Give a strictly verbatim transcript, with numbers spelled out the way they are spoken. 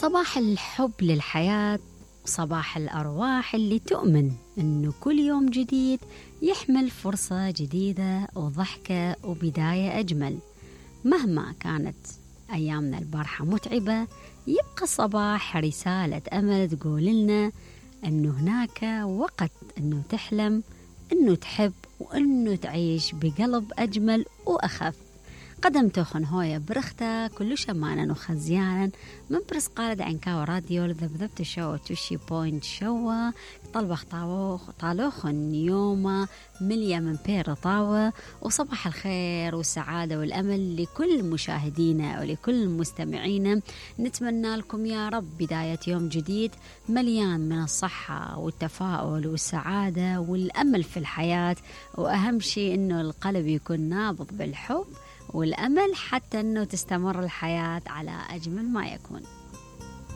صباح الحب للحياة، صباح الأرواح اللي تؤمن أنه كل يوم جديد يحمل فرصة جديدة وضحكة وبداية أجمل. مهما كانت أيامنا البارحة متعبة، يبقى الصباح رسالة أمل تقول لنا أنه هناك وقت أنه تحلم، أنه تحب، وأنه تعيش بقلب أجمل وأخف. قدم توخن هوية برختا كل شمانا وخزيانا من برس قالد عنكاو راديو لذبذبت شو توشي بوينت شوا طلبخ طاوخ طالوخن يوما مليا من بير طاوة. وصباح الخير والسعادة والأمل لكل مشاهدينا ولكل مستمعينا. نتمنى لكم يا رب بداية يوم جديد مليان من الصحة والتفاؤل والسعادة والأمل في الحياة، وأهم شيء إنه القلب يكون نابض بالحب والأمل حتى أنه تستمر الحياة على أجمل ما يكون.